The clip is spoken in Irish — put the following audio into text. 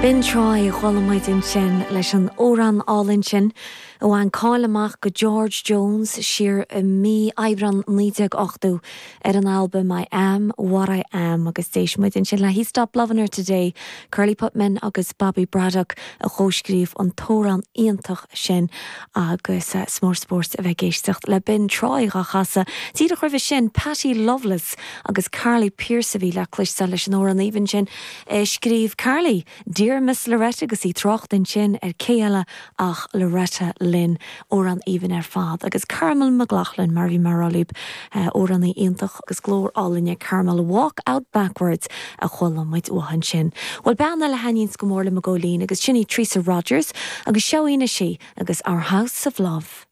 B'in Troy a chuala muid ansin leis an amhrán álainn sin a bhain cáil amach go George Jones siar i mí Aibreán 1980 ar an albam I Am What I Am agus d'éist muid ansin le He Stopped Lovin' Her Today, Curly Putman agus Bobby Braddock a chomhscríobh an t-amhrán iontach sin agus is mór spórt a bheith ag éisteacht le B'in Troy dhá chasadh. Díreach roimhe sin Patty Loveless agus Carly Pearce a bhí le cloisteáil leis an amhrán aoibhinn sin a scríobh Carly, Dear Miss Loretta agus í ag trácht ansin ar cé eile ach Loretta Lynn. Amhrán aoibhinn ar fad. Agus Carmel McLaughlin, mar a bhí mé a rá libh, amhránaí iontach agus glór álainn ag Carmel, Walk Out Backwards a chuala muid uaithi ansin. Bhuel, bean eile a thaitníonns go mór liom i gcóilín agus sin í Teresa Rogers agus seo í anois í agus Our House of Love.